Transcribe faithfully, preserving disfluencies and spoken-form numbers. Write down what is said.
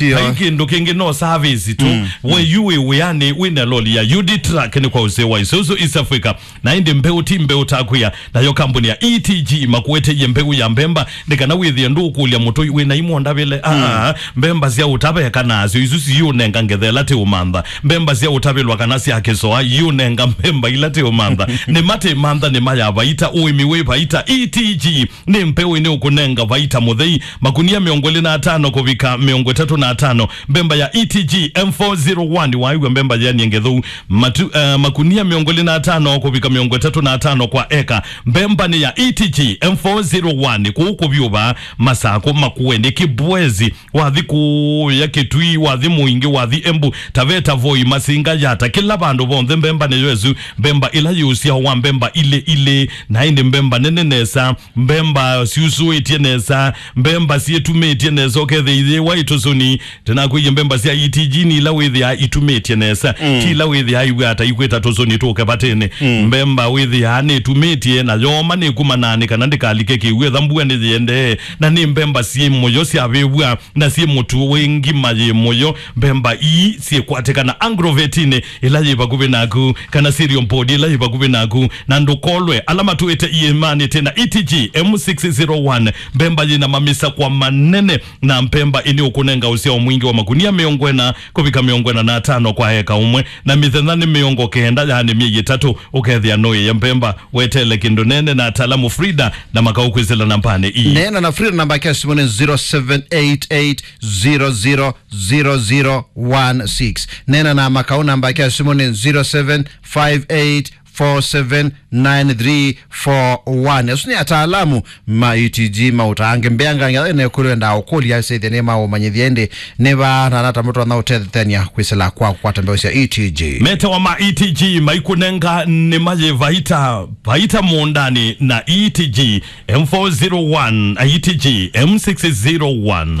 Ndio. Vai kĩndũ kĩngĩ, no service tu. Mm. We yu wĩ wĩanĩ, wĩ na loli ya U D Truck nĩ kwa ũseo wa Isuzu East Africa. Na ĩndĩ mbeũ ti mbeũ ta kwĩa, nayo kambuni ya E T G makueteie mbeũ ya mbemba, nĩ kana wĩthĩe ndũkũlya mũtũi wĩ na imwe ndavĩle. Ah, mbemba sya ũtaveka nasyo, isu siũnenga ngetha ĩla ti ũmantha. Mbemba sya ũtavĩlwa kana sya kĩsoa, iũnenga mbemba ila ti ũmantha. Nĩ matĩ mantha, nĩ maya vaita, ũĩmi wĩ vaita. E T G nĩ mbeũ ĩnĩ ũkũnenga vaita mũthei. Makunia mĩongo ĩlĩ na atano kũvika mĩongo ĩtatũ na atano. Mbemba ya E T G M four zero one, waĩw'a mbemba yĩanie ngetheu. Matu, eh, makunia mĩongo ĩlĩ na atano kũvika mĩongo ĩtatũ na atano kwa eka. Mbemba nĩ ya E T G M four zero one, kũu kũvyũva, Masakũ, Makueni, Kibwezi, wathi kũya Kitui, wathi Mwingi, wathi Embu, Taveta, Voi, Masinga, Yata, kĩla vandũ vonthe mbemba nĩyo ĩsu, mbemba ĩla yĩ ũsyao wa mbemba ilĩ ilĩ, na ĩndĩ mbemba nene nesa, mbemba syusũĩtye nesa, mbemba syĩtumĩtye nesa, ũkethĩa iyĩwa itũsũni. Tena kwĩie mbemba sya E T G nĩ ila wĩthĩaa itumĩtye nesa, ti ila wĩthĩaa iw'ata ikwĩta tũsũni tũke vatĩnĩ. Mbemba wĩthĩaa nĩtumĩtye na yooma nĩkumanaa nĩ kana ndĩkalike kĩw'ũ ethĩwa mbua nĩyĩendee, na nĩ mbemba syĩ mũyo syavĩvw'a na syĩ mũtu wĩ ngima yĩ mũyo. Mbemba ii syĩkwatĩkana Agrovetinĩ ĩla yĩ vakuvĩ naku, kana Cereal Board ĩla yĩ vakuvĩ naku, na ndũkolwe ala matũĩte iĩmanĩ tena. E T G M six zero one, mbemba yĩna mamisakwa manene, na mbemba ĩnĩ ũkũnenga ũsyao mwingĩ wa makunia mĩongo ĩna kũvika mĩongo ĩna na atano kwa eka ũmwe, na mĩthenya nĩ mĩongo kenda, yaani myei ĩtatũ, ũkethĩa nũĩe mbemba. Wetele kĩndũ nene na ataalamu Frida na Makau kwĩsĩla nambanĩ ii. Neena na Frida, namba yake ya simũ nĩ zero seven eight eight zero zero zero zero one six. Neena na Makau, namba yake ya simũ nĩ zero seven five eight four seven nine three four one. Asu nĩ ataalamu ma E T G maũtange mbeangange ene kũlwenda ũkũlya sĩthĩ nĩ maũmanyĩthya ĩndĩ nĩ va na nata mũtwanya ũtethethania kwĩsĩla kwa kũkwata mbeũ sya E T G. Metawa ma E T G maikũnenga nĩ mayĩ vaita, vaita mũũndanĩ na E T G M four zero one, E T G M six zero one.